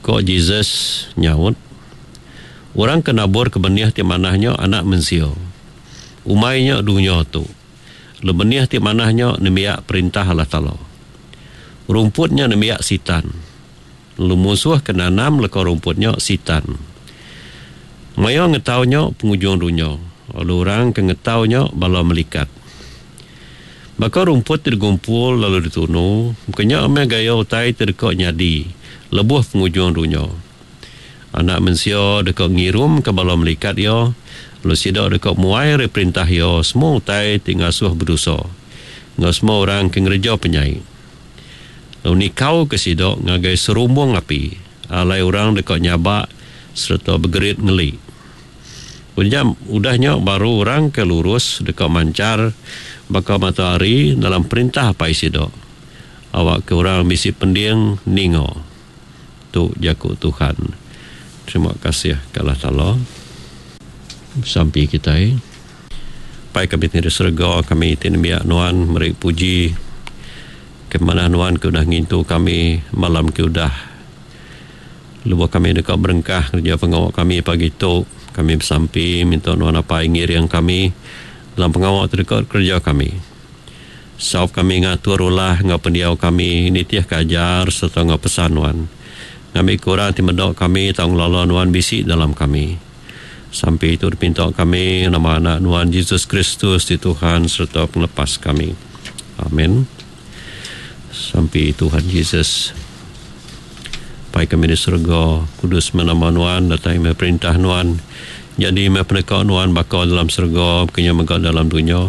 Ko Jesus nyaut, Orang ke naburka benih ti manah nya Anak Mensia. Umai nya dunya tu. Lalu benih ti manah nya nembiak Perintah Allah Taala. Rumput nya nembiak Sitan. Lalu munsuh ke nanam leka rumput nya Sitan. Maya ngetau nya pengujung dunya, lalu orang ke ngetau nya bala melikat. Baka rumput ti digumpul lalu ditunu, baka nya meh gaya utai ti deka nyadi lebuh pengujung dunya. Anak Mensia deka ngirumka bala melikat iya, lalu sida deka muai ari perintah iya semua utai ti ngasuh bedosa enggau semua orang ke ngereja penyai, lalu nikauka sida ngagai serumbung api, alai orang deka nyabak sereta begerit ngeli. Udah nya baru orang ke lurus deka manchar baka mata hari dalam perintah Apai sida. Awakka orang bisi pending ninga. Tu jaku Tuhan. Terima kasih ke Allah Taala. Besampi kitai. Apai kami ti di serega, kami ti nembiak Nuan meri puji ke manah Nuan ke udah ngintu kami malam ke udah. Lebuh kami deka berengkah ngereja pengawa kami pagi tu, kami besampi minta Nuan Apai ngiring kami dalam pengawa ti deka dikereja kami. Saup kami ngatur ulah enggau pendiau kami nitihka ajar sereta enggau pesan Nuan, ngambika orang ti meda kami tau ngelala Nuan bisi dalam kami. Sampi tu dipinta kami nama Anak Nuan Jesus Kristus ti Tuhan sereta Pengelepas kami. Amen. Sampi Tuhan Jesus. Pai kami di serega, kudus meh nama Nuan, datai meh perintah Nuan. Nyadi meh peneka Nuan baka dalam serega, baka nya mega dalam dunya.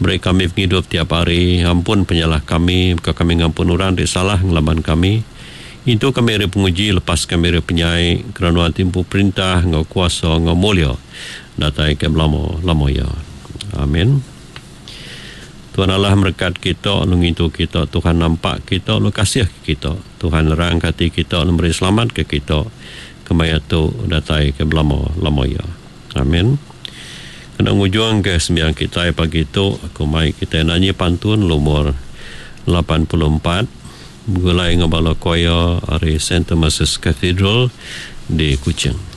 Beri kami pengidup tiap hari, ampun penyalah kami, baka kami ngampun orang ti salah ngelaban kami. Intu kami ari penguji, lepas kami ari penyai, kerana Nuan ti empu perintah enggau kuasa enggau mulia datai ke belama-lama iya. Amin. Tuhan Allah merekat kita lalu ngintu kita. Tuhan nampak kita lalu kasih ke kita. Tuhan nerangka ati kita lalu meri selamat ke kita kemaya tu datai ke belama lama iya. Amin. Kena ngujung ke sembiang kitai pagi tu aku mai kitai nanyi pantun lumur 84 begulai enggau bala choir ari Saint Thomas's Cathedral di Kuching.